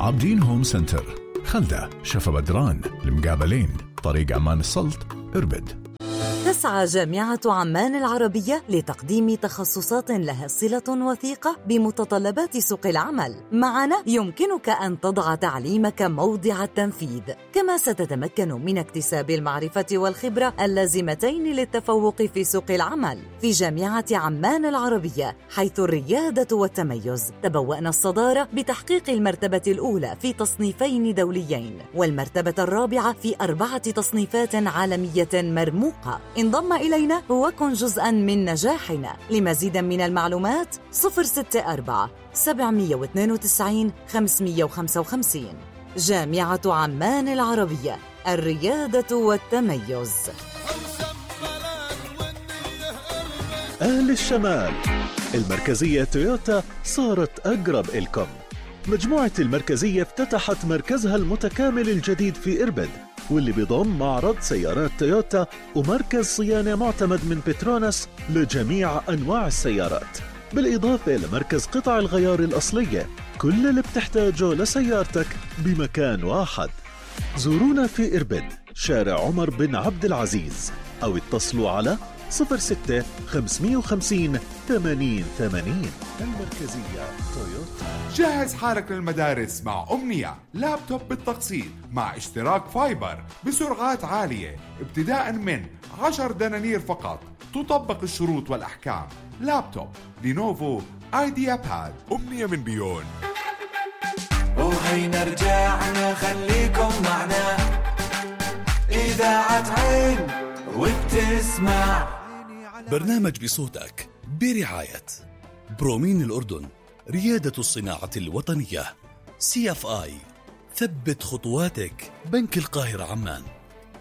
عابدين هوم سنتر، خلدة، شفا بدران، المقابلين، طريق عمان السلط، إربد. تسعى جامعة عمان العربية لتقديم تخصصات لها صلة وثيقة بمتطلبات سوق العمل. معنا يمكنك أن تضع تعليمك موضع التنفيذ، كما ستتمكن من اكتساب المعرفة والخبرة اللازمتين للتفوق في سوق العمل. في جامعة عمان العربية، حيث الريادة والتميز، تبوأنا الصدارة بتحقيق المرتبة الأولى في تصنيفين دوليين، والمرتبة الرابعة في 4 تصنيفات عالمية مرموقة. انضم إلينا وكن جزءاً من نجاحنا. لمزيد من المعلومات 064-792-555. جامعة عمان العربية، الريادة والتميز. أهل الشمال، المركزية تويوتا صارت أقرب إلكم. مجموعة المركزية افتتحت مركزها المتكامل الجديد في إربد، واللي بيضم معرض سيارات تويوتا ومركز صيانة معتمد من بتروناس لجميع أنواع السيارات، بالإضافة لمركز قطع الغيار الأصلية. كل اللي بتحتاجه لسيارتك بمكان واحد. زورونا في إربد، شارع عمر بن عبد العزيز، أو اتصلوا على 06-550-8080. المركزية تويوتا. جهز حالك للمدارس مع أمنية، لابتوب بالتقسيط مع اشتراك فايبر بسرعات عالية ابتداء من 10 دنانير فقط. تطبق الشروط والأحكام. لابتوب لينوفو ايديا باد. أمنية من بيون. وهينا رجعنا، خليكم معنا. إذاعة عين وبتسمع برنامج بصوتك برعاية برومين الأردن، ريادة الصناعة الوطنية. CFI، ثبت خطواتك. بنك القاهرة عمان،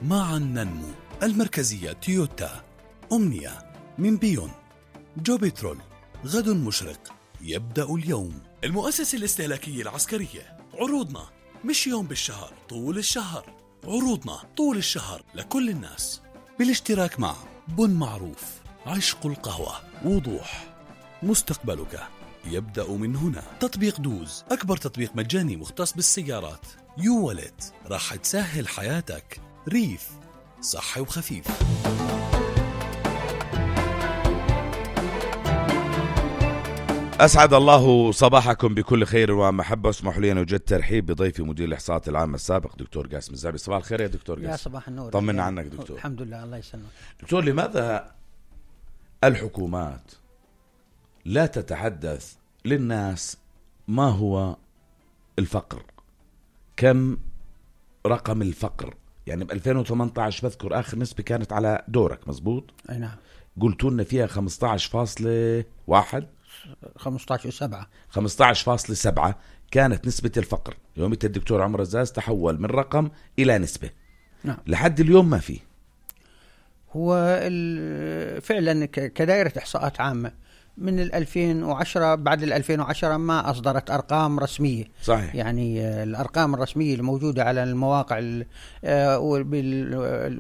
معا ننمو. المركزية تويوتا. أمنية من بيون. جو بترول، غد مشرق يبدأ اليوم. المؤسسة الاستهلاكية العسكرية، عروضنا مش يوم بالشهر، طول الشهر. عروضنا طول الشهر لكل الناس، بالاشتراك مع بن معروف، عشق القهوة، وضوح. مستقبلك يبدأ من هنا. تطبيق دوز، أكبر تطبيق مجاني مختص بالسيارات. يو والت، راح تسهل حياتك. ريف، صحي وخفيف. أسعد الله صباحكم بكل خير ومحبة. اسمحوا لي أن أوجد ترحيب بضيفي مدير الإحصاءات العامة السابق دكتور قاسم الزعبي. صباح الخير يا دكتور قاسم. يا صباح النور. طمنا عنك دكتور. الحمد لله، الله يسلمك دكتور. لماذا الحكومات لا تتحدث للناس ما هو الفقر؟ كم رقم الفقر؟ يعني ب 2018 بذكر آخر نسبة كانت على دورك، مزبوط؟ أي نعم. قلتوا لنا فيها 15.1 15.7 كانت نسبة الفقر. يومية الدكتور عمر الزاز تحول من رقم إلى نسبة. نعم. لحد اليوم ما فيه. هو فعلا كدائرة إحصاءات عامة من 2010، بعد 2010 ما أصدرت أرقام رسمية. صحيح. يعني الأرقام الرسمية الموجودة على المواقع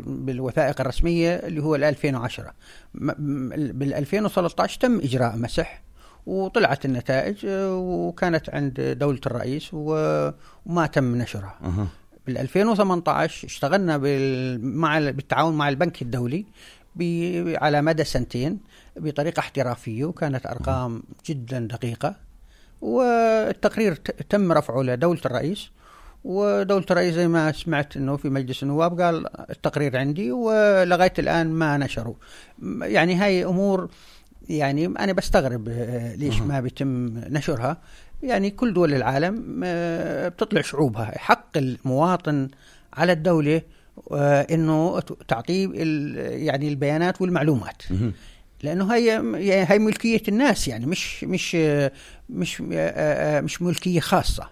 بالوثائق الرسمية اللي هو 2010. بال 2013 تم إجراء مسح وطلعت النتائج وكانت عند دولة الرئيس وما تم نشرها. بال 2018 اشتغلنا بالتعاون مع البنك الدولي على مدى 2 بطريقة احترافية، وكانت أرقام جدا دقيقة، والتقرير تم رفعه لدولة الرئيس، ودولة الرئيس زي ما سمعت أنه في مجلس النواب قال التقرير عندي، ولغاية الآن ما نشروا. يعني هاي أمور يعني أنا بستغرب ليش ما بيتم نشرها. يعني كل دول العالم بتطلع شعوبها. حق المواطن على الدولة إنه تعطيه يعني البيانات والمعلومات، لأنه هي ملكية الناس، يعني مش ملكية خاصة.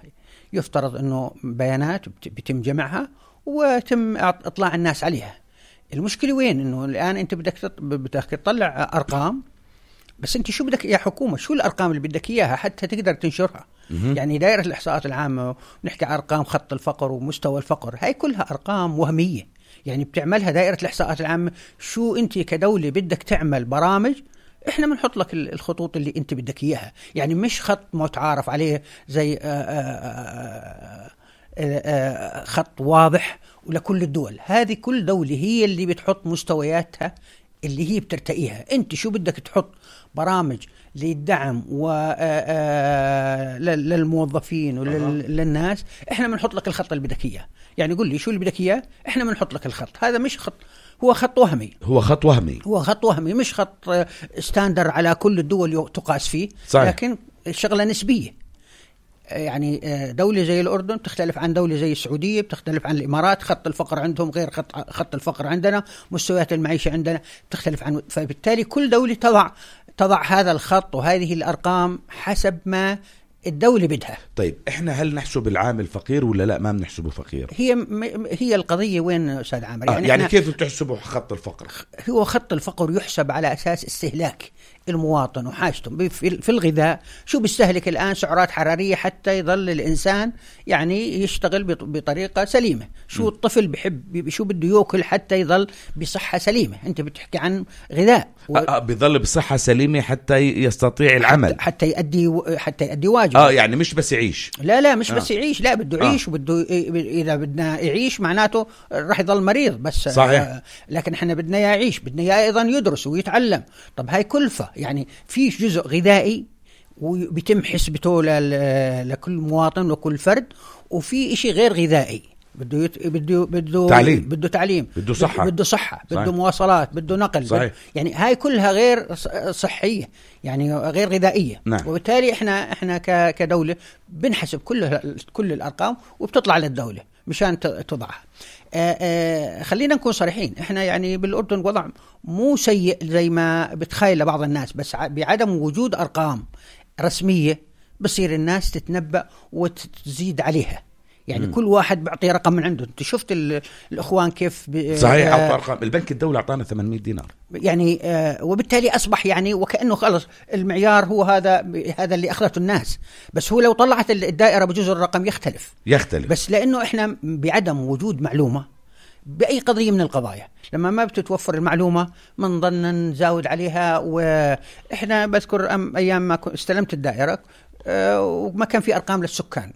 يفترض إنه بيانات بيتم جمعها وتم إطلاع الناس عليها. المشكلة وين؟ إنه الآن أنت بدك تطلع أرقام، بس أنت شو بدك يا حكومة؟ شو الأرقام اللي بدك إياها حتى تقدر تنشرها؟ يعني دائرة الإحصاءات العامة نحكي أرقام خط الفقر ومستوى الفقر، هاي كلها أرقام وهمية. يعني بتعملها دائرة الإحصاءات العامة. شو أنت كدولة بدك تعمل برامج احنا بنحط لك الخطوط اللي انت بدك اياها، يعني مش خط متعارف عليه زي خط واضح ولكل الدول. هذه كل دولة هي اللي بتحط مستوياتها اللي هي بترتقيها. انت شو بدك تحط برامج للدعم للموظفين وللناس، احنا بنحط لك الخط اللي بدك اياه. يعني قل لي شو اللي بدك اياه، احنا بنحط لك الخط. هذا مش خط، هو خط وهمي، مش خط ستاندر على كل الدول تقاس فيه. صحيح. لكن شغلة نسبية. يعني دولة زي الأردن تختلف عن دولة زي السعودية، بتختلف عن الإمارات، خط الفقر عندهم غير خط الفقر عندنا، مستويات المعيشة عندنا تختلف عنه. فبالتالي كل دولة تضع هذا الخط وهذه الأرقام حسب ما الدولة بدها. طيب احنا هل نحسب العامل فقير ولا لا؟ ما بنحسبه فقير. هي القضية وين أستاذ عامر؟ يعني كيف بتحسبوا خط الفقر؟ هو خط الفقر يحسب على أساس استهلاك المواطن وحاجته. في الغذاء شو بيستهلك الآن سعرات حرارية حتى يظل الإنسان يعني يشتغل بطريقة سليمة. شو الطفل بيحب، شو بده يأكل حتى يظل بصحة سليمة. أنت بتحكي عن غذاء بيظل بصحة سليمة حتى يستطيع العمل، حتى يؤدي واجب. يعني مش بس يعيش. لا مش بس يعيش، لا بده يعيش وبده إذا بدنا يعيش معناته راح يظل مريض بس. صحيح. لكن احنا بدنا يعيش، بدنا أيضا يدرس ويتعلم. طب هاي كلفة. يعني في جزء غذائي وبيتم حسبته لكل مواطن وكل فرد، وفي إشي غير غذائي بده تعليم، بده صحة، بده مواصلات، بده نقل. يعني هاي كلها غير صحية، يعني غير غذائية. نعم. وبالتالي احنا كدولة بنحسب كل الأرقام وبتطلع للدولة مشان تضعها. خلينا نكون صريحين، احنا يعني بالأردن وضع مو سيء زي ما بتخيل بعض الناس، بس بعدم وجود أرقام رسمية بصير الناس تتنبأ وتزيد عليها. يعني كل واحد بيعطي رقم من عنده. انت شفت الاخوان كيف صحيح اعطى ارقام. البنك الدولي اعطانا 800 دينار يعني وبالتالي اصبح يعني وكانه خلص المعيار هو هذا اللي اخذته الناس. بس هو لو طلعت الدائره بجزء الرقم يختلف. بس لانه احنا بعدم وجود معلومه باي قضيه من القضايا، لما ما بتتوفر المعلومه بنضلنا نزاود عليها. واحنا بذكر ايام ما استلمت الدائره وما كان في ارقام للسكان،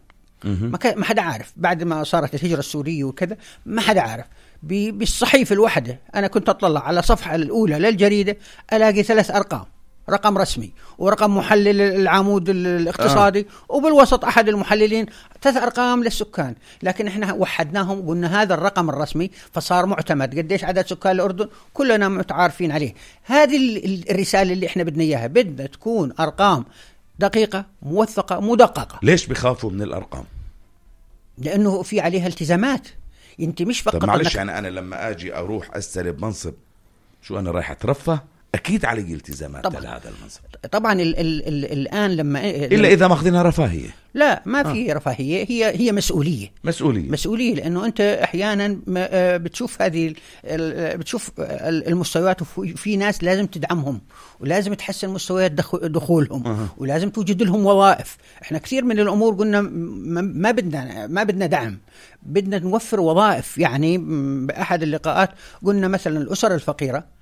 ما حدا عارف. بعد ما صارت الهجرة السورية وكذا ما حدا عارف. بالصحيفة الواحدة أنا كنت أطلع على الصفحة الأولى للجريدة ألاقي 3 أرقام، رقم رسمي ورقم محلل العمود الاقتصادي وبالوسط أحد المحللين 3 أرقام للسكان. لكن إحنا وحدناهم وقلنا هذا الرقم الرسمي فصار معتمد. قديش عدد سكان الأردن كلنا متعارفين عليه. هذه الرسالة اللي إحنا بدنا إياها. بدنا تكون أرقام دقيقة موثقة مدققة. ليش بخافوا من الأرقام؟ لأنه في عليها التزامات. انت مش فقط. طب معلش يعني أنا لما أجي أروح أستلم منصب، شو أنا رايح أترفه؟ أكيد علي التزامات لهذا المنصب. طبعا الآن إلا إذا ماخذينها رفاهية. لا ما في رفاهية، هي مسؤولية لأنه أنت أحيانا بتشوف بتشوف المستويات، وفي ناس لازم تدعمهم ولازم تحسن مستويات دخولهم ولازم توجد لهم وظائف. احنا كثير من الأمور قلنا ما بدنا دعم، بدنا نوفر وظائف. يعني بأحد اللقاءات قلنا مثلا الأسر الفقيرة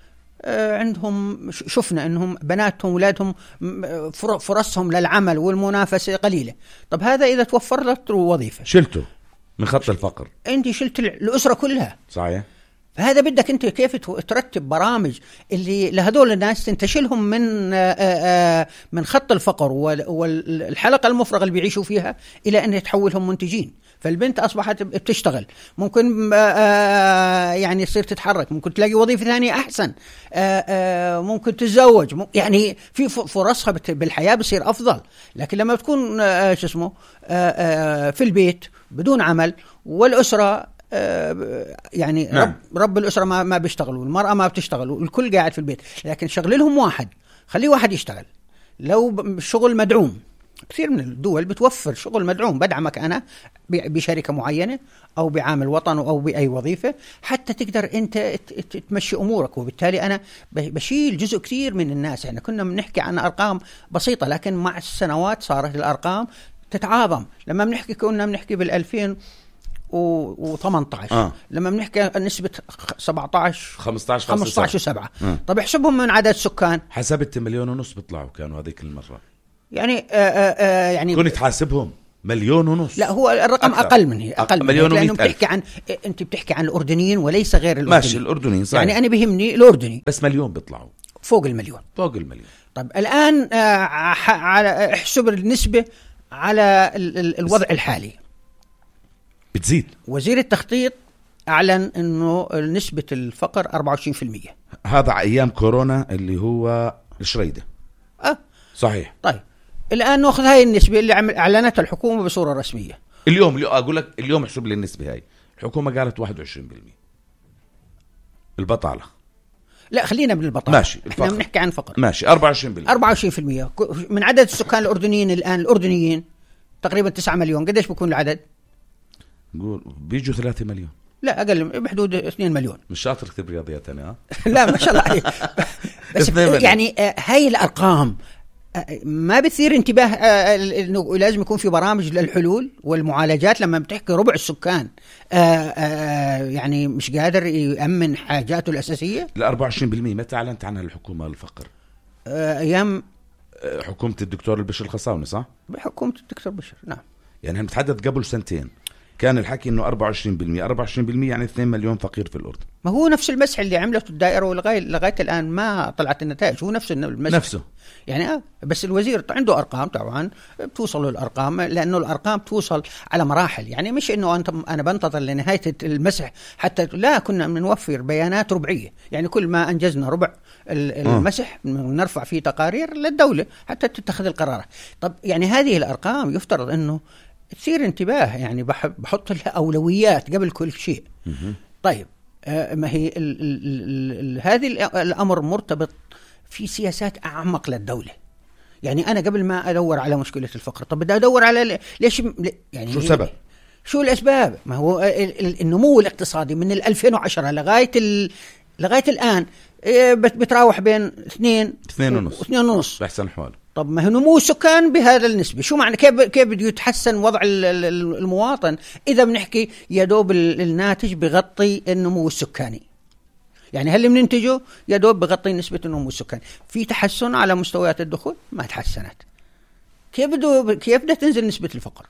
عندهم شفنا أنهم بناتهم ولادهم فرصهم للعمل والمنافسة قليلة. طب هذا إذا توفر لك وظيفة شلته من خط الفقر، أنت شلت الأسرة كلها. صحيح. فهذا بدك أنت كيف ترتب برامج اللي لهذول الناس تنتشلهم من خط الفقر والحلقة المفرغة اللي بيعيشوا فيها إلى أن يتحولهم منتجين. فالبنت أصبحت بتشتغل، ممكن يعني يصير تتحرك، ممكن تلاقي وظيفة ثانية أحسن، ممكن تتزوج، يعني في فرصها بالحياة بصير أفضل. لكن لما بتكون في البيت بدون عمل والأسرة يعني نعم. رب الأسرة ما بيشتغل والمرأة ما بتشتغل والكل قاعد في البيت، لكن شغل لهم واحد، خليه واحد يشتغل لو شغل مدعوم. كثير من الدول بتوفر شغل مدعوم، بدعمك أنا بشركة معينة أو بعامل وطن أو بأي وظيفة حتى تقدر أنت تمشي أمورك. وبالتالي أنا بشيل جزء كثير من الناس. يعني كنا بنحكي عن أرقام بسيطة، لكن مع السنوات صارت الأرقام تتعاظم. لما كنا بنحكي و18. لما بنحكي نسبة 17 15.7. طب احسبهم من عدد سكان. حسبت 1.5 مليون بيطلعوا كانوا هذيك المرة. يعني كنت تحاسبهم 1.5 مليون. لا هو الرقم أقل من هي، أقل من هي، لأنه أنت بتحكي عن الأردنيين وليس غير الأردنيين. ماشي الأردنيين صحيح. يعني أنا بيهمني الأردني بس 1 مليون بيطلعوا فوق المليون. طيب الآن على احسب النسبة على الوضع الحالي بتزيد. وزير التخطيط أعلن أنه نسبة الفقر 24%. هذا أيام كورونا اللي هو الشريدة. صحيح. طيب الآن نأخذ هاي النسبة اللي أعلنتها الحكومة بصورة رسمية. اليوم أقول لك اليوم احسب لي النسبة هاي. الحكومة قالت 21% البطالة. لا خلينا بالبطالة. ماشي. احنا بنحكي عن فقر. ماشي 24%. من عدد السكان الأردنيين الآن الأردنيين تقريبا 9 مليون. قديش بيكون العدد؟ نقول بيجوا 3 مليون. لا أقل بحدود 2 مليون. مش شاطر كتب رياضيات أنا. لا ما شاء الله عليك. بس يعني هاي الأرقام ما بثير انتباه انه لازم يكون في برامج للحلول والمعالجات. لما بتحكي ربع السكان يعني مش قادر يأمن حاجاته الأساسية. ال 24% متى أعلنت عنها الحكومة الفقر؟ أيام حكومة الدكتور البشر الخصاوني صح؟ بحكومة الدكتور بشر نعم. يعني هم تحدث قبل سنتين كان الحكي انه 24% يعني 2 مليون فقير في الأردن. ما هو نفس المسح اللي عملته الدائرة لغاية الآن ما طلعت النتائج. هو نفس المسح نفسه يعني بس الوزير عنده أرقام طبعا بتوصل الأرقام لأنه الأرقام توصل على مراحل. يعني مش إنه أنا بنتظر لنهاية المسح حتى لا كنا بنوفر بيانات ربعية. يعني كل ما أنجزنا ربع المسح نرفع فيه تقارير للدولة حتى تتخذ القرارات. طب يعني هذه الأرقام يفترض إنه تصير انتباه. يعني بحط لها أولويات قبل كل شيء. طيب ما هي هذه الأمر مرتبط في سياسات أعمق للدولة. يعني أنا قبل ما أدور على مشكلة الفقر طب بدي أدور على ليش يعني شو السبب؟ شو الأسباب؟ ما هو النمو الاقتصادي من 2010 لغاية الآن بتراوح بين 2.5 بأحسن حوال. طب ما هو نمو السكان بهذا النسبة شو معنى كيف بده يتحسن وضع المواطن إذا بنحكي يدوب الناتج بغطي النمو السكاني؟ يعني هل بننتجه يدوب بغطي نسبة النمو السكاني. في تحسن على مستويات الدخول ما تحسنت. كيف بدها تنزل نسبة الفقر؟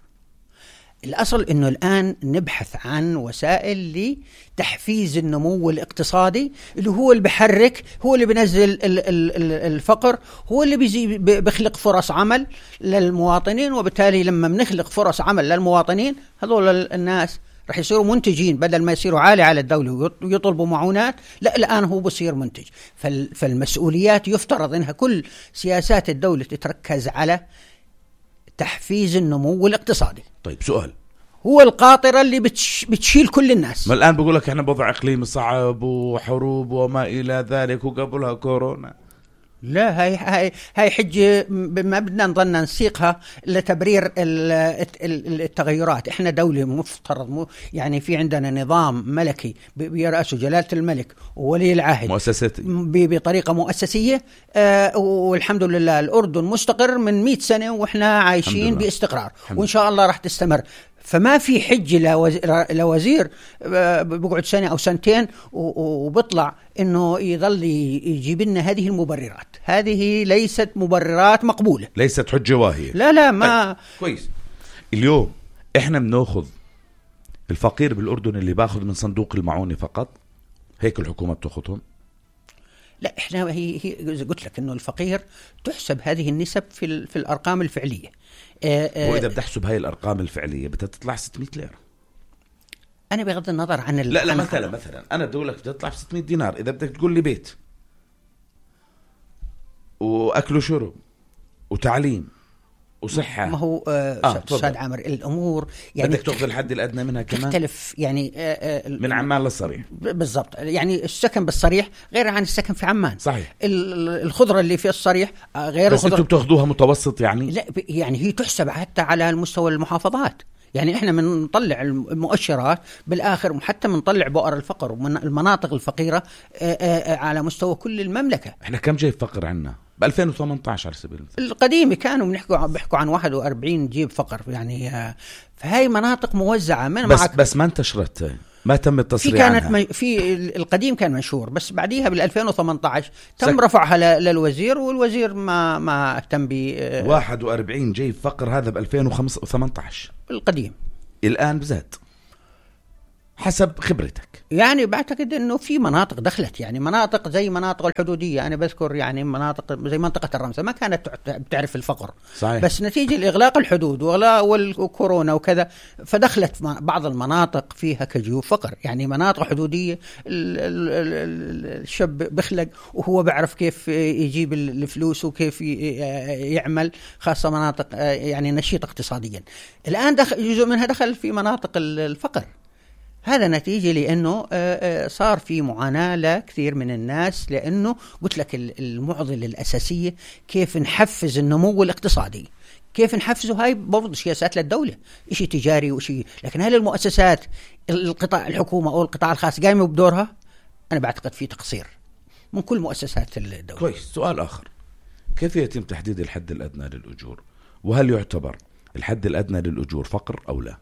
الأصل إنه الآن نبحث عن وسائل لتحفيز النمو الاقتصادي اللي هو اللي بحرك، هو اللي بينزل الفقر، هو اللي بيخلق فرص عمل للمواطنين. وبالتالي لما بنخلق فرص عمل للمواطنين هذول الناس رح يصيروا منتجين بدل ما يصيروا عالي على الدولة ويطلبوا معونات. لا الآن هو بصير منتج. فالمسؤوليات يفترض إنها كل سياسات الدولة تتركز على تحفيز النمو الاقتصادي. طيب سؤال، هو القاطرة اللي بتشيل كل الناس. ما الآن بقول لك احنا بوضع اقليمي صعب وحروب وما إلى ذلك وقبلها كورونا. لا هاي حجة ما بدنا نظن نسيقها لتبرير التغيرات. احنا دولة مفترض يعني في عندنا نظام ملكي بيرأسه جلالة الملك وولي العهد مؤسساتي بطريقة مؤسسية. والحمد لله الأردن مستقر من 100 سنة وإحنا عايشين باستقرار وإن شاء الله راح تستمر. فما في حجة لوزير بقعد سنة أو سنتين وبطلع إنه يظل يجيب لنا هذه المبررات. هذه ليست مبررات مقبولة، ليست حجة واهية. لا ما طيب. كويس. اليوم إحنا بناخذ الفقير بالأردن اللي باخذ من صندوق المعونة فقط، هيك الحكومة بتاخذهم؟ لا احنا هي قلت لك إنه الفقير تحسب هذه النسب في الأرقام الفعلية. وإذا بدي أحسب هاي الأرقام الفعلية بدها تطلع 600 ليرة. أنا بغض النظر عن لا مثلا أنا بدي أقول لك بدها تطلع 600 دينار. إذا بدك تقول لي بيت وأكل وشرب وتعليم وصحة، ما هو أستاذ عامر الأمور يعني بدك تأخذ الحد الأدنى منها كمان تختلف. يعني من عمان للصريح بالضبط. يعني السكن بالصريح غير عن السكن في عمان. صحيح. الخضرة اللي في الصريح غير بس الخضرة. أنتوا بتأخذوها متوسط يعني؟ لا يعني هي تحسب حتى على المستوى المحافظات. يعني إحنا بنطلع المؤشرات بالآخر حتى بنطلع بؤر الفقر ومن المناطق الفقيرة على مستوى كل المملكة. إحنا كم جاي فقر عنا ب 2018 على سبيل المثال. القديمة كانوا بيحكوا عن 41 جيب فقر يعني. فهي مناطق موزعة من بس ما انتشرت، ما تم التصريح عنها. في القديم كان منشور، بس بعديها بال 2018 تم رفعها للوزير، والوزير ما اهتم ب 41 جيب فقر هذا ب 2018 القديم. الآن بزاد حسب خبرتك؟ يعني بعتقد انه في مناطق دخلت، يعني مناطق زي مناطق الحدوديه، انا بذكر يعني مناطق زي منطقه الرمسه ما كانت بتعرف الفقر. صحيح. بس نتيجه الاغلاق الحدود والكورونا وكذا فدخلت بعض المناطق فيها كجيوب فقر، يعني مناطق حدوديه الشاب بخلق وهو بيعرف كيف يجيب الفلوس وكيف يعمل، خاصه مناطق يعني نشيطه اقتصاديا. الان جزء منها دخل في مناطق الفقر. هذا نتيجة لأنه صار في معاناة لكثير من الناس، لأنه قلت لك المعضلة الأساسية كيف نحفز النمو الاقتصادي، كيف نحفزه. هاي برضو سياسات للدولة، إشي تجاري وإشي، لكن هل المؤسسات القطاع الحكومة أو القطاع الخاص قايمة بدورها؟ أنا بعتقد في تقصير من كل مؤسسات الدولة. كويس. سؤال آخر، كيف يتم تحديد الحد الأدنى للأجور؟ وهل يعتبر الحد الأدنى للأجور فقر أو لا؟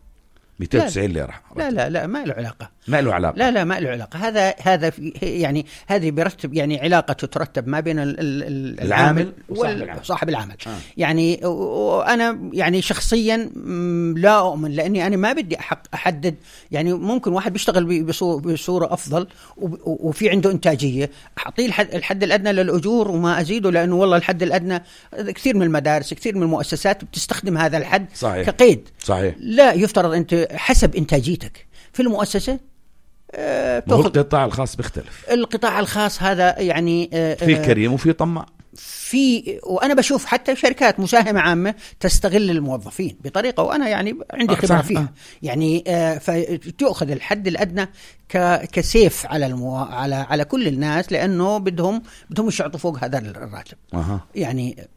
290 ليرة. لا ما له علاقة. ما له علاقة. لا ما له علاقة. هذا يعني هذه برتب يعني علاقة تترتب ما بين العامل وصاحب العمل. يعني وأنا يعني شخصيا لا أؤمن، لأني أنا ما بدي أحدد. يعني ممكن واحد بيشتغل بصورة أفضل وفي عنده إنتاجية، أعطيه الحد الأدنى للأجور وما أزيده، لأنه والله الحد الأدنى كثير من المدارس كثير من المؤسسات بتستخدم هذا الحد. صحيح. كقيد. صحيح. لا، يفترض أنت حسب إنتاجيتك في المؤسسة. القطاع الخاص بيختلف. القطاع الخاص هذا يعني في كريم وفي طماع. وأنا بشوف حتى شركات مساهمة عامة تستغل الموظفين بطريقة، وأنا يعني عندي خبرة فيها. يعني فتأخذ الحد الأدنى كسيف على كل الناس، لأنه بدهم يشعطوا فوق هذا الراتب. يعني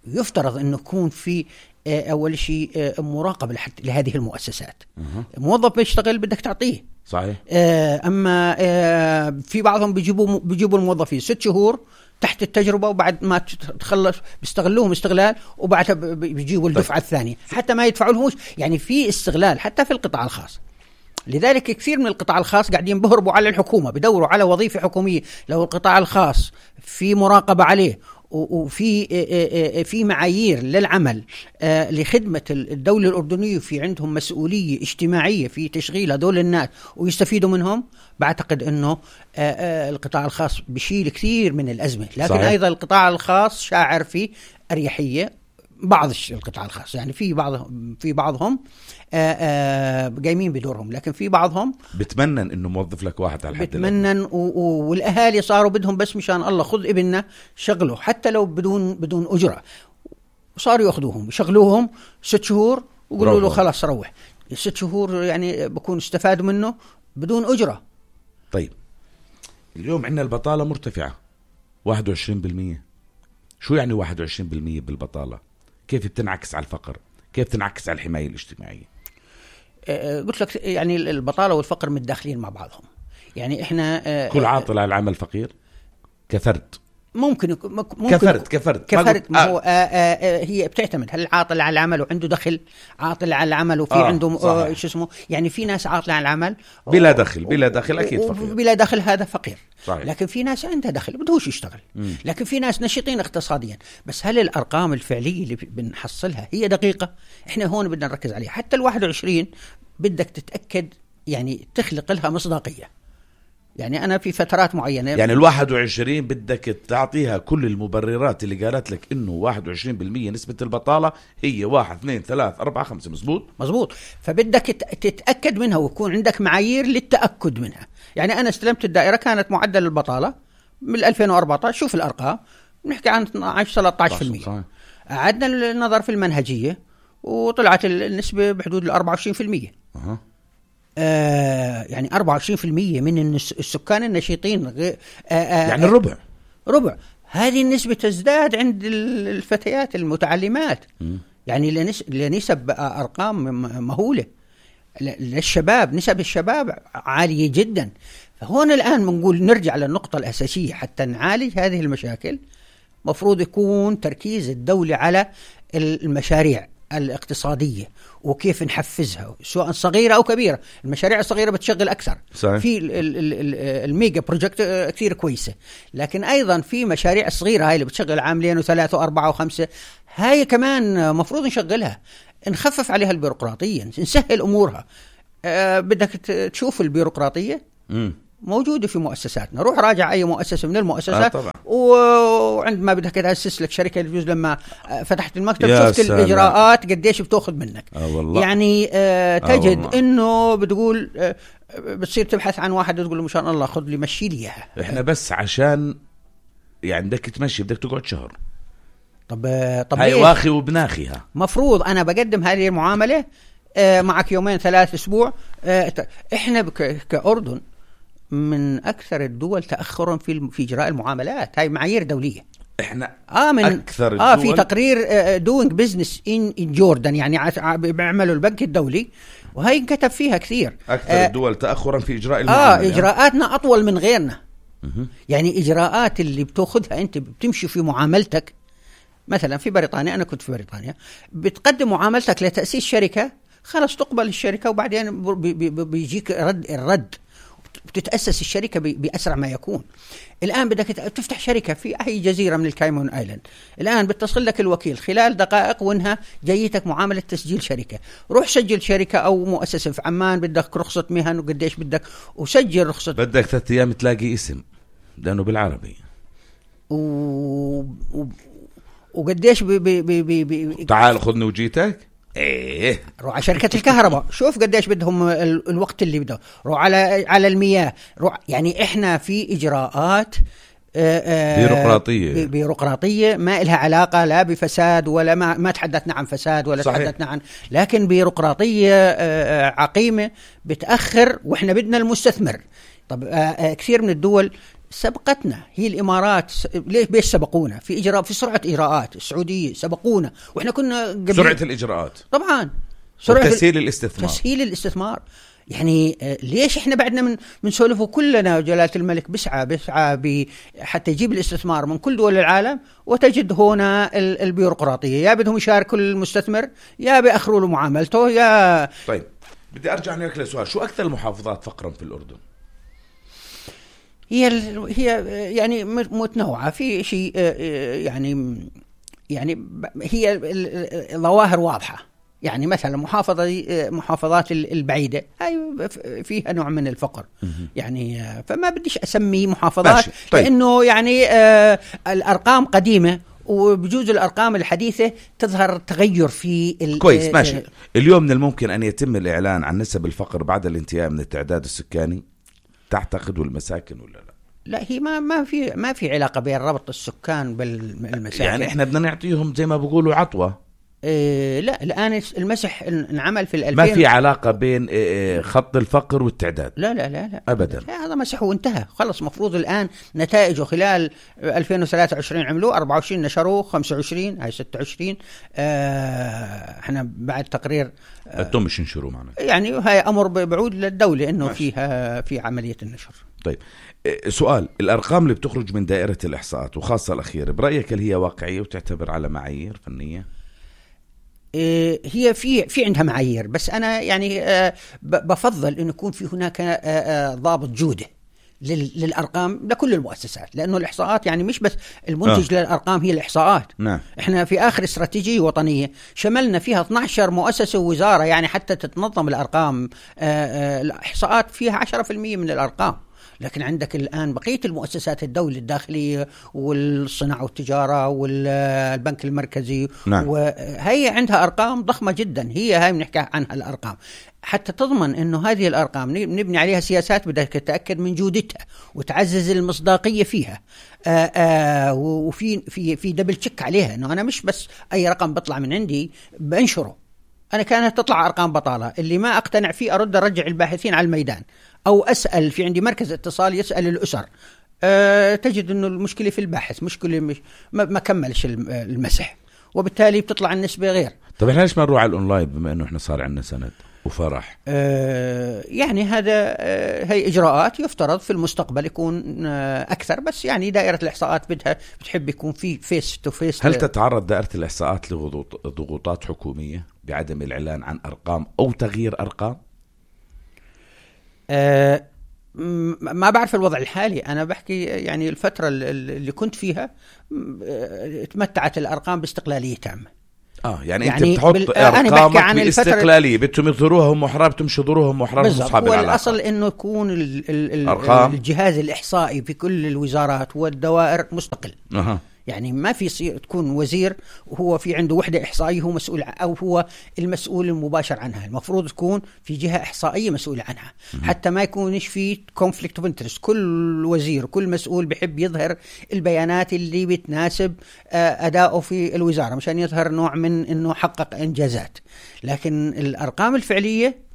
يفترض أنه يكون في أول شيء مراقبة لهذه المؤسسات. موظف بيشتغل بدك تعطيه. صحيح. أما في بعضهم بيجيبوا الموظفين 6 شهور تحت التجربة، وبعد ما تخلص بيستغلوهم استغلال، وبعدها بيجيبوا الدفعة الثانية حتى ما يدفعوا لهمش. يعني في استغلال حتى في القطاع الخاص. لذلك كثير من القطاع الخاص قاعدين بهربوا على الحكومة، بدوروا على وظيفة حكومية. لو القطاع الخاص في مراقبة عليه وفي معايير للعمل لخدمة الدولة الأردنية، في عندهم مسؤولية اجتماعية في تشغيل هذول الناس ويستفيدوا منهم، بعتقد أنه القطاع الخاص بيشيل كثير من الأزمة. لكن صحيح. أيضا القطاع الخاص شاعر في أريحية. بعض القطاع الخاص يعني في بعضهم قايمين بدورهم، لكن في بعضهم بتمنن انه موظف لك واحد على الحد بتمنن والاهالي صاروا بدهم بس مشان الله خذ ابننا شغله حتى لو بدون اجره، وصاروا ياخذوهم يشغلوهم 6 شهور ويقولوا له خلاص روح. 6 شهور يعني بكون استفادوا منه بدون اجره. طيب اليوم عندنا البطاله مرتفعه 21%. شو يعني 21% بالبطاله؟ كيف بتنعكس على الفقر؟ كيف تنعكس على الحماية الاجتماعية؟ قلت لك يعني البطالة والفقر متداخلين مع بعضهم. يعني إحنا كل عاطل على العمل فقير كفرد. ممكن كفرد ما هو هي بتعتمد هل عاطل على العمل وعنده دخل، عاطل على العمل وفي عنده شو اسمه. يعني في ناس عاطل على العمل بلا دخل أكيد فقير. بلا دخل هذا فقير. صحيح. لكن في ناس عندها دخل بدهوش يشتغل. لكن في ناس نشيطين اقتصاديا. بس هل الأرقام الفعلية اللي بنحصلها هي دقيقة؟ إحنا هون بدنا نركز عليها. حتى 21 بدك تتأكد يعني تخلق لها مصداقية. يعني أنا في فترات معينة يعني 21 بدك تعطيها كل المبررات اللي قالت لك إنه 21% نسبة البطالة هي 1 2 3 4 5. مزبوط. فبدك تتأكد منها ويكون عندك معايير للتأكد منها. يعني أنا استلمت الدائرة كانت معدل البطالة من 2014. شوف الأرقام نحكي عن 12-13%. أعدنا النظر في المنهجية وطلعت النسبة بحدود 24%. يعني 24% من السكان النشيطين يعني ربع. هذه النسبة تزداد عند الفتيات المتعلمات. يعني لنسب أرقام مهولة. للشباب نسب الشباب عالية جدا. فهون الآن بنقول نرجع للنقطة الأساسية حتى نعالج هذه المشاكل. مفروض يكون تركيز الدولة على المشاريع الاقتصادية وكيف نحفزها سواء صغيرة أو كبيرة. المشاريع الصغيرة بتشغل أكثر صحيح. في الميجا بروجكت كثير كويسة، لكن أيضا في مشاريع صغيرة هاي اللي بتشغل عاملين وثلاثة وأربعة وخمسة، هاي كمان مفروض نشغلها، نخفف عليها البيروقراطية، نسهل أمورها. بدك تشوف البيروقراطية موجودة في مؤسساتنا، روح راجع أي مؤسسة من المؤسسات وعندما بدك تأسس لك شركة الجزء لما فتحت المكتب شفت الإجراءات قديش بتأخذ منك. يعني تجد إنه بتقول بتصير تبحث عن واحد تقول له مشان الله خذ لي مشي لي إياها. إحنا بس عشان يعني بدك تمشي بدك تقعد شهر. طب هاي واخي وبناخيها. مفروض أنا بقدم هذه المعاملة معك يومين 3 أسبوع. إحنا كأردن من أكثر الدول تأخرا في إجراء المعاملات، هاي معايير دولية. إحنا من أكثر الدول في تقرير doing business in Jordan يعني بيعملوا البنك الدولي، وهي انكتب فيها كثير. أكثر الدول تأخرا في إجراء المعاملات. إجراءاتنا أطول من غيرنا. يعني إجراءات اللي بتأخذها أنت بتمشي في معاملتك. مثلا في بريطانيا، أنا كنت في بريطانيا، بتقدم معاملتك لتأسيس شركة، خلاص تقبل الشركة وبعدين بيجيك الرد، بتتأسس الشركة بأسرع ما يكون. الآن بدك تفتح شركة في أي جزيرة من الكايمون آيلاند، الآن بتصل لك الوكيل خلال دقائق وانها جايتك معاملة تسجيل شركة. روح سجل شركة أو مؤسسة في عمان، بدك رخصة مهن وقديش بدك، وسجل رخصة. بدك 3 أيام تلاقي اسم لأنه بالعربي وقديش تعال خذني وجيتك. ايه روح على شركة الكهرباء شوف قديش بدهم الوقت اللي بدهم. روح على المياه. روح يعني احنا في اجراءات بيروقراطية ما إلها علاقة لا بفساد ولا ما تحدثنا عن فساد ولا صحيح. تحدثنا عن، لكن بيروقراطية عقيمة بتأخر، واحنا بدنا المستثمر. طب كثير من الدول سبقتنا، هي الإمارات ليش بيش سبقونا في إجراء في سرعة إجراءات؟ السعودية سبقونا وإحنا كنا قبل سرعة الإجراءات طبعا، سرعة تسهيل الاستثمار. يعني ليش إحنا بعدنا من سولفه كلنا جلالة الملك بيسعى حتى يجيب الاستثمار من كل دول العالم، وتجد هنا البيروقراطية يا بدهم يشاركوا المستثمر يا بيأخروا له معاملته يا. طيب بدي أرجع لك لسؤال، شو أكثر المحافظات فقرا في الأردن؟ هي يعني متنوعة في شيء يعني هي الظواهر واضحة. يعني مثلا محافظات البعيدة هاي فيها نوع من الفقر يعني، فما بديش أسمي محافظات طيب. لأنه يعني الأرقام قديمة وبجوز الأرقام الحديثة تظهر تغير في كويس ماشي. اليوم من الممكن أن يتم الإعلان عن نسب الفقر بعد الانتهاء من التعداد السكاني تعتقدوا المساكن ولا لا؟ لا هي ما في علاقة بين ربط السكان بالمساكن. يعني احنا بدنا نعطيهم زي ما بيقولوا عطوة. لا الآن المسح انعمل في 2000 ما في علاقة بين خط الفقر والتعداد. لا أبدا. لا هذا مسح وانتهى خلص. مفروض الآن نتائجه خلال 2023 عملوه 24 نشروه 25 هاي 26 احنا بعد تقرير انتم مش نشروا معنا يعني هاي أمر بعود للدولة إنه فيها في عملية النشر. طيب سؤال، الأرقام اللي بتخرج من دائرة الإحصاءات وخاصة الأخيرة برأيك هل هي واقعية وتعتبر على معايير فنية؟ هي في عندها معايير، بس أنا يعني بفضل إنه يكون في هناك ضابط جودة للأرقام لكل المؤسسات، لأنه الإحصاءات يعني مش بس المنتج للأرقام هي الإحصاءات. نعم. إحنا في آخر استراتيجية وطنية شملنا فيها 12 مؤسسة ووزارة يعني حتى تتنظم الأرقام. الإحصاءات فيها 10% من الأرقام، لكن عندك الآن بقية المؤسسات الدولة الداخلية والصناعة والتجارة والبنك المركزي. نعم. وهي عندها أرقام ضخمة جدا، هاي بنحكي عنها الأرقام. حتى تضمن أنه هذه الأرقام نبني عليها سياسات بدك تتأكد من جودتها وتعزز المصداقية فيها. وفي دبل تشيك عليها، أنه أنا مش بس أي رقم بطلع من عندي بنشره. أنا كانت تطلع أرقام بطالة اللي ما أقتنع فيه أرجع الباحثين على الميدان، أو أسأل في عندي مركز اتصال يسأل الأسر. تجد أنه المشكلة في الباحث، مشكلة ما كملش المسح. وبالتالي بتطلع النسبة غير. طب احنا ليش ما نروح على الأونلاين بما أنه احنا صار عندنا سند وفرح؟ يعني هذا هي إجراءات يفترض في المستقبل يكون أكثر، بس يعني دائرة الإحصاءات بتحب يكون في فيس تو فيس. هل تتعرض دائرة الإحصاءات لضغوطات حكومية بعدم الإعلان عن أرقام أو تغيير أرقام؟ ما بعرف الوضع الحالي، أنا بحكي يعني الفترة اللي كنت فيها تمتعت الأرقام باستقلالية تامة. يعني انت بتحط ارقامك باستقلاليه، بدهم يظهروها هم محرار، بدهم يظهروها هم محرار. بالضبط، والاصل انه يكون الجهاز الاحصائي في كل الوزارات والدوائر مستقل. يعني ما في يصير تكون وزير وهو في عنده وحدة إحصائية هو مسؤول أو هو المسؤول المباشر عنها. المفروض تكون في جهة إحصائية مسؤولة عنها حتى ما يكونش في conflict of interest. كل وزير كل مسؤول بحب يظهر البيانات اللي بتناسب أدائه في الوزارة مشان يظهر نوع من إنه حقق إنجازات، لكن الأرقام الفعلية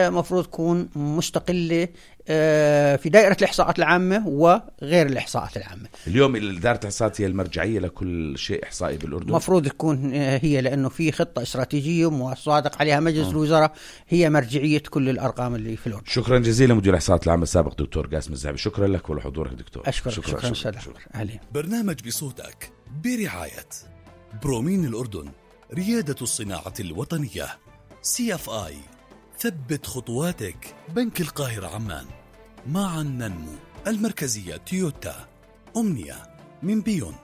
مفروض تكون مستقلة في دائرة الإحصاءات العامة وغير الإحصاءات العامة. اليوم دائرة الإحصاءات هي المرجعية لكل شيء إحصائي بالأردن، مفروض تكون هي، لأنه في خطة استراتيجية وصادق عليها مجلس الوزراء، هي مرجعية كل الأرقام اللي في الأردن. شكرا جزيلا مدير الإحصاءات العامة السابق دكتور قاسم الزعبي، شكرا لك ولحضورك دكتور. شكرا. أهلين. برنامج بصوتك برعاية برومين الأردن، ريادة الصناعة الوطنية. CFI، ثبت خطواتك. بنك القاهرة عمان، معا ننمو. المركزية تويوتا. أمنية من بيون.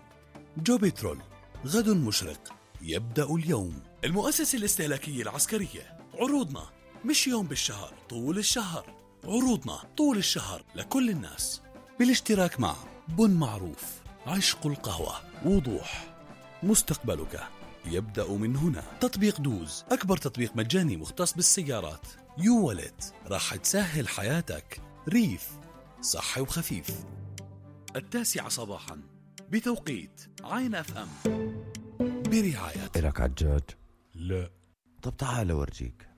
جو بترول، غد مشرق يبدأ اليوم. المؤسسة الاستهلاكية العسكرية، عروضنا مش يوم بالشهر، طول الشهر. عروضنا طول الشهر لكل الناس، بالاشتراك مع بن معروف، عشق القهوة، وضوح. مستقبلك يبدأ من هنا. تطبيق دوز، أكبر تطبيق مجاني مختص بالسيارات. يو والت، راح تسهل حياتك. ريف، صحي وخفيف. 9 صباحا بتوقيت عين FM برعاية. إلك عجاج؟ لا. طب تعال أورجيك.